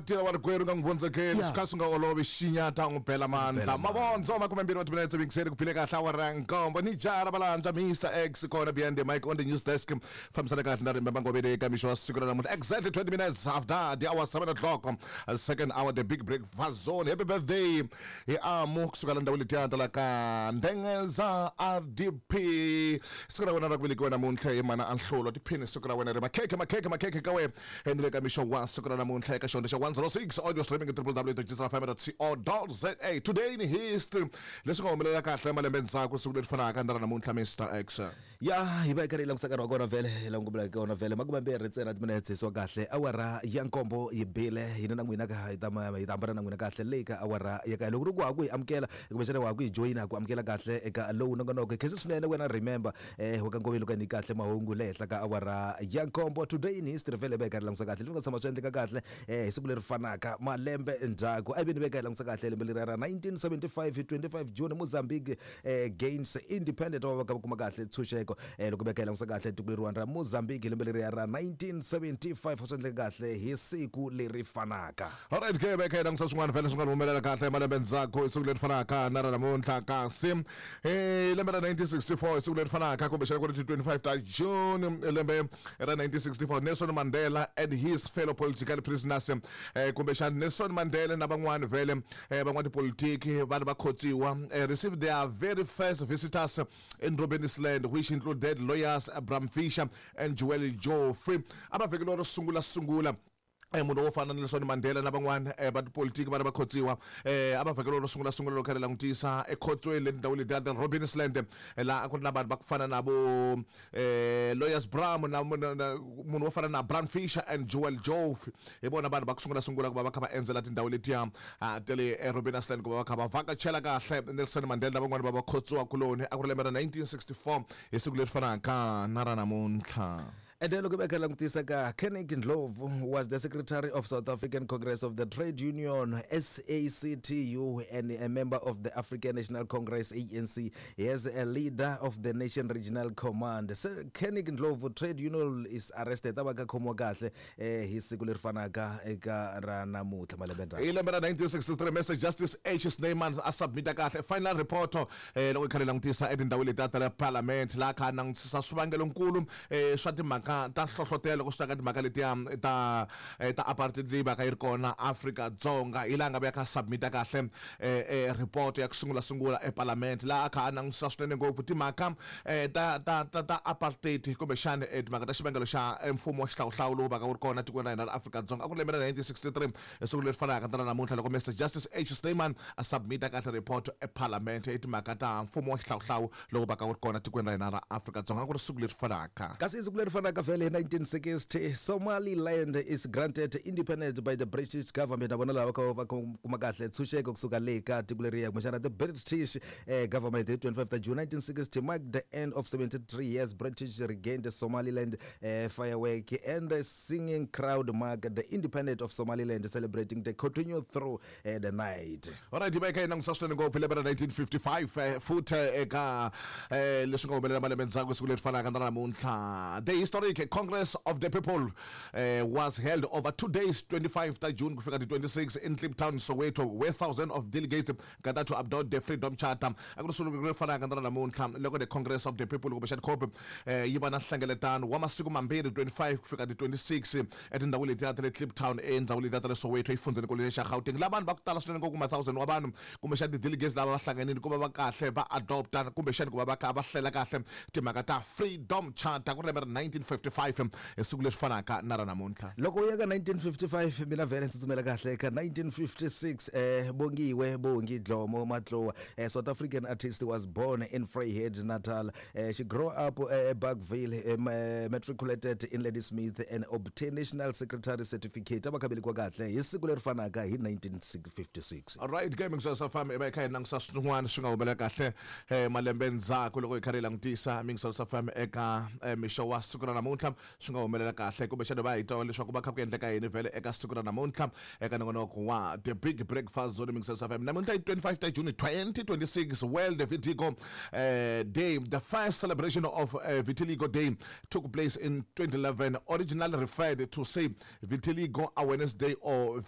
Tirha wa rikwerhu nga n'wi vondzekeli swi kha swi nga olovi xinyata n'wi bela mandla mavondzo 20 wa timinetse yingiseri ku phile kahle awara nkombo ni jaha ra valandza Mr X kona behind the mic on the news desk fambisana kahle na rimbe mangoveni eka mixo wa siku ra namuntlha exactly 20 minutes after the hour 7 o'clock, second hour, the big breakfast zone. Happy birthday hi amu kusuka la ndhawu letiya ta la ka Ndengeza RDP. Siku ra wena ra ku velekiwa namuntlha hi mana anhlolo tiphini siku ra wena ri makhekhe makhekhe makhekhe ka wena. Endle ka mixo wa siku ra namuntlha eka xihundla xa 106 audio streaming www.gsrfm.co.za. Today in history, leswi nga humelela kahle malembe ndzhaku siku leri fanaka na ra namuntlha, Mr X. Ya hi va hi karhi hi langutisa nkarhi wa kona vhele hi langutela ka wona vhele 20 ntsena timinetse swa kahle awara ya nkombo yi bile hina na n'wina ka hi ta hi ta hambana na n'wina kahle leyi ka awara ya kaye loko ri ku ha ku hi amukela kumbexana wa ha ku hi joyina ku amukela kahle eka lowu nongonoko hi khensa swinene wena remember wa ka Ngoveni loko ni kahle mahungu le henhla ka awara ya nkombo. Today in history vhele hi va hi karhi langutisa kahle leswi nga tshama swi endleka kahle hi siku leri fanaka malembe ndzhaku. A hi veni veka hi langutisa kahle lembe leriya ra 1975 hi 25 June Mozambique gains independent va va va kuma kahle ntshunxeko. Loko veka hi langutisa kahle tiko leriwani ra Mozambique hi lembe leriya ra 1975 swi endleka kahle hi siku leri fanaka. Alright ke veka hi langutisa swin'wana vhele swi nga humelela kahle malembe ndzhaku hi siku leri fanaka na ra namuntlha. Kasi hi lembe ra 1964 hi siku leri fanaka kumbexana ku ri ti 25 ta June lembe ra 1964, Nelson Mandela and his fellow political prisoners, kumbexana Nelson Mandela na van'wani vhele van'watipolitiki va ri va khotsiwa, received their very first visitors in Robben Island, which included lawyers Bram Fischer and Joel Joffe. A va vhekeliwa ro sungula sungula munhu wo fana na Nelson Mandela na van'wana va tipolitiki va ri va khotsiwa, a va vhakeriwa ro sungula sungula loko kha ri langutisa ekhotsweni le tindhawini letiya ta Robben Island, laha a ku ri na vanhu va ku fana na vo Lawyers Bram na munhu wo fana na Bram Fischer and Joel Joffe. Hi vona vanhu va ku sungula sungula ku va va kha va endzela tindhawu letiya ta le Robben Island ku va va kha va vhakachela kahle Nelson Mandela na van'wana va vakhotsiwa kuloni. A ku ri lembe ra 1964 hi siku leri fanaka na ra namuntlha. Ende loko va kha langutisa ka Kennick Ndlovu was the secretary of South African Congress of the Trade Union SACTU and a member of the African National Congress ANC. He is a leader of the Nation Regional Command. So Kennick Ndlovu trade union is arrested a va ka khomiwa kahle hi siku leri fanaka eka ra namuntlha malembe ndzhaku. Hi lembe ra 1963 Mr Justice H Snyman a submita kahle final report loko hi kha hi langutisa etindhawini letiya ta le Parliament, laha kha a langutisa swivangelonkulu swa timhaka ta nhlohlotelo loko swi ta ka timhaka letiya ta apartheid leyi vaka yi ri kona Afrika-Dzonga. Hi laha nga vuya kha submita kahle report ya ku sungula sungula eParliament, laha a kha a langutisa swinene ngopfu timhaka ta apartheid kumbexani timhaka ta xivangelo xa mfumo wa xihlawuhlawu lowu vaka wu ri kona tikweni ra hina ra Afrika-Dzonga. A ku ri lembe ra 1963 hi siku leri fanaka na ra namuntlha loko Mister Justice H Snyman a submita kahle report eParliament hi timhaka ta mfumo wa xihlawuhlawu lowu vaka wu ri kona tikweni ra hina ra Afrika-Dzonga. A ku ri siku leri fanaka. Kasi siku leri fanaka vhele hi 1960 Somaliland is granted independence by the British government. Na vona lava va va kuma kahle ntshunxeko kusuka le ka tiko leriya kumbexana the British government hi 25 ta June 1960 marked the end of 73 years British regained Somaliland. Firework and a singing crowd mark the independence of Somaliland, celebrating the continue through the night. Alright, hi va hi kha hi langutisa swinene ngopfu lembe ra 1955 futhi eka leswi nga humelela malembe ndzhaku siku leri fanaka na namuntlha. The historic Congress of the People was held over 2 days, 25 ta June ku fika ti 26 in Kliptown, Soweto, where thousands of delegates gathered to adopt the Freedom Charter. A ku ri siku leri fanaka na namuntlha loko the Congress of the People kumbexani COP yi va na nhlengeletano wa masiku mambirhi, 25 ku fika ti 26 etindhawini letiya ta le Kliptown endhawini letiya ta le Soweto exifundzhenikulu xa Gauteng, laha vanhu va ku tala swinene ngopfu, ma thousand wa vanhu kumbexani ti-delegates lava va hlanganile ku va va kahle va adopta kumbexani ku va va kha va hlela kahle timhaka ta Freedom Charter. Ku ri lembe ra 1955 hi siku leri fanaka na ra namuntlha. Loko u ya ka 1955 mina vhele ndzi tsutsumela kahle ka 1956. Bongiwe Bongi Dlomo Matlowa, South African artist, was born in Vryheid, Natal. She grew up Bergville, matriculated in Ladysmith and obtained national secretary certificate. A va kha velekiwa kahle hi siku leri fanaka hi 1956. Alright ke Mingiselo FM hi va hi kha hi langutisa swin'wana swi nga humelela kahle malembe ndzhaku loko hi kha hi langutisa Mingiselo FM eka mixo wa siku ra namuntlha swi nga humelela kahle kumbexana va hi twa leswaku va kha ku endleka yini vhele eka siku ra namuntlha eka nongonoko wa The Big Breakfast Zone Mingiselo FM. Namuntlha hi 25 ta June 2026, World Vitiligo Day. The first celebration of Vitiligo Day took place in 2011, originally referred to say Vitiligo Awareness Day or